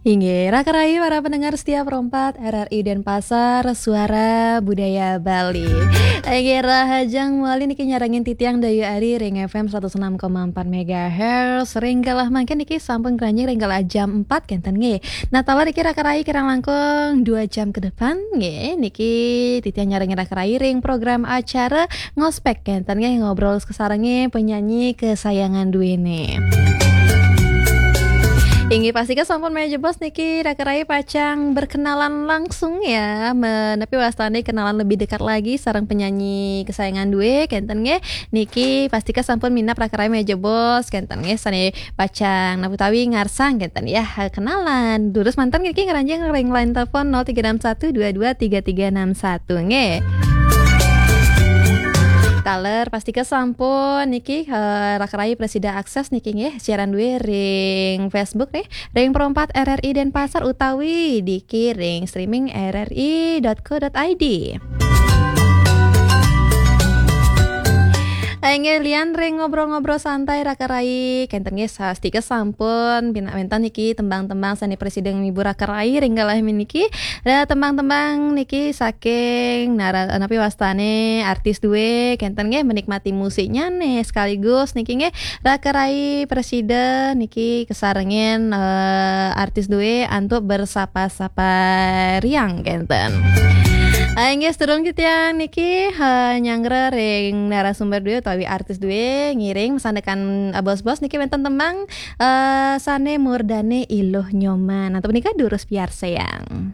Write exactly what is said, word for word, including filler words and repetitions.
Inggih, raka rayi para pendengar setia Pro empat R R I Denpasar, Suara Budaya Bali. Inggih, rahajeng malih niki nyarengin titiang Dayu Ari ring F M seratus enam koma empat megahertz. Ring galah mangkin niki sampun ngranjing ring galah jam empat kenten nggih. Nah, taler niki raka rayi kirang langkung dua jam ke depan nggih. Niki titiang nyarengin raka rayi ring program acara Ngospek kenten nggih, ngobrol kasarengin penyanyi kesayangan duene. Inggih, pastika sampun malih jebos niki raka rayi pacang berkenalan langsung ya, menapi wastane kenalan lebih dekat lagi sareng penyanyi kesayangan due kenten nggih. Niki pastika sampun minab raka rayi malih jebos kenten nggih, sane pacang napi utawi ngarsang kenten ya, kenalan. Durus manten niki ngranjing ring line telepon nol tiga enam satu dua dua tiga tiga enam satu nggih. Taler pastika sampun niki, eh, raka rayi prasida akses niki nggih, siaran due ring Facebook nih, ring Pro empat R R I Denpasar utawi niki ring streaming R R I dot co dot I D. Inggih, lian ring ngobrol-ngobrol santai raka rayi kenten nggih, sastika sampun pina-, wenten niki tembang-tembang sane prasida ngibur raka rayi ring galah meniki. Nah, tembang-tembang niki saking nara-, napi wastane artis due kenten nggih, menikmati musiknya nih, sekaligus niki nggih raka rayi prasida niki kesarengin, eh, artis due antuk bersapa-sapa riang kenten. Ah, inggih, sedurung titiang niki, eh, nyanggra ring narasumber due utawi artis due ngiring masandekan, eh, bos-bos niki wenten tembang, eh, sane murdane Iluh Nyoman. Antuk punika durus piarsayang.